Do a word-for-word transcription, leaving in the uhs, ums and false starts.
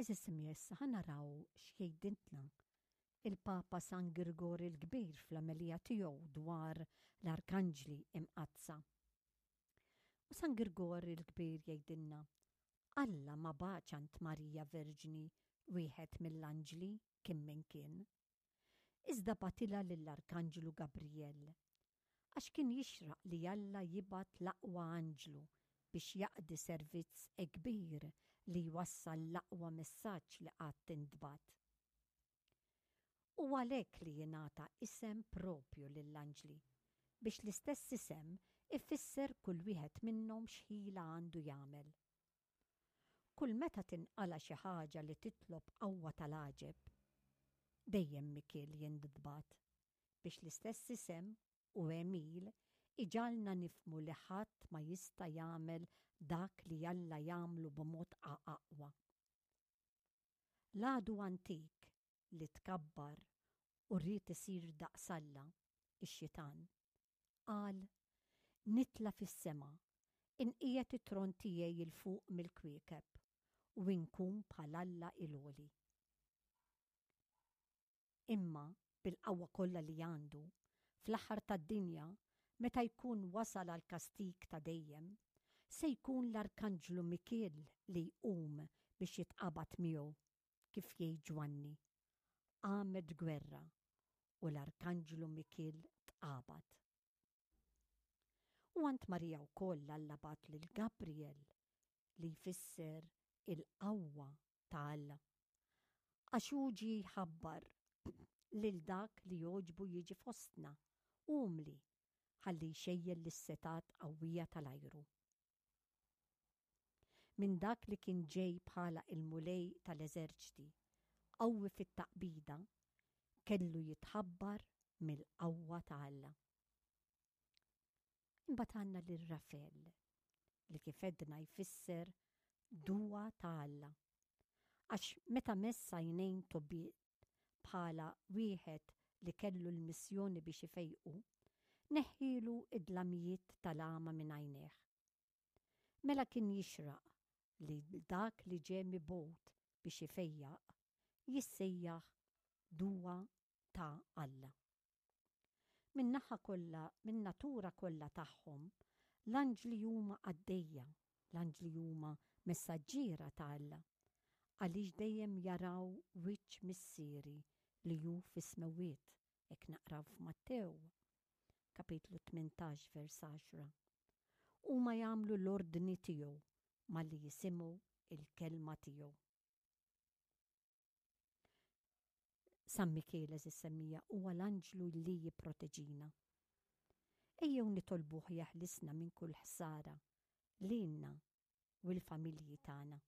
Għeżież semmiegħa, issa ħa naraw x'jgħidilna il-Papa San Girgor il-Kbir fl-omelija tiegħu dwar l-Arkanġli Imqaddsa. U San Girgor il-Kbir jgħidilna: Alla ma bagħatx għand Marija Verġni wieħed mill-anġli kien min kien. Iżda bagħtilha lill-Arkanġlu Gabriel, għax kien jixraq li Alla jibgħat l-aqwa anġlu biex jaqdi servizz kbir li jwassal l-aqwa messaġġ li qatt intbagħat. U għalhekk li jingħata isem propju lill-anġli, biex l-istess isem ifisser kull wieħed minnhom x'ħila għandu jagħmel. Kull meta tinqala xi ħaġa li titlob qawwa tal-għaġeb, dejjem Mikiel jintbagħat biex l-istess isem u għemil iġagħalna nifhmu li ħadd ma jista' jagħmel dak li Alla jagħmlu b'mod aqwa. L-għadu antik li tkabbar u ried isir daqs Alla, ix-xitan, qal: "Nitla' fis-sema, inqiegħed it-tron tiegħi 'l fuq mill-kwiekeb u nkun bħal Alla l-Għoli." Imma bil-qawwa kollha li għandu, fl-aħħar tad-dinja, meta jkun wasal għal kastig ta' dejjem, se jkun l-Arkanġlu Mikiel li jqum biex jitqabad miegħu, kif jgħid Ġwanni: "Qamet gwerra u l-Arkanġlu Mikiel tqabad." U għand Marija wkoll Alla bagħat lil Gabriel, li jfisser il-qawwa ta' Alla, għax hu ġie jħabbar lil dak li jogħġbu jiġi fostna, umli, ħalli jxejjel lis-setgħat qawwija tal-ajru. Minn dak li kien ġej bħala il-Mulej tal-eżerċti, qawwi fit-taqbida, kellu jitħabbar mill-qawwa ta' Alla. Imbagħad għandna lil Rafel, li kif għedna jfisser duwa ta' Alla. Għax meta mess għajnejn Tobiet bħala wieħed li kellu l-missjoni biex ifejqu, neħħielu id-dlamijiet tal-għama minn għajnejh. Mela kien jixraq li dak li ġie mibgħut biex ifejjaq jissejjaħ duwa ta' Alla. Min-naħa kollha, min-natura kollha tagħhom, l-anġli huma qaddejja, l-anġli huma messaġġiera ta' Alla, għaliex dejjem jaraw wiċċ Missieri li hu fis-smewwiet, hekk naqraw f'Mattew, kapitlu tmintax vers għaxra. Huma jagħmlu l-ordni tiegħu malli jisimgħu il-kelma tiegħu. San Mikiel, għeżież semmiegħa, huwa l-anġlu li jipproteġina. Ejjew nitolbuh jeħlisna minn kull ħsara lilna u l-familji tagħna.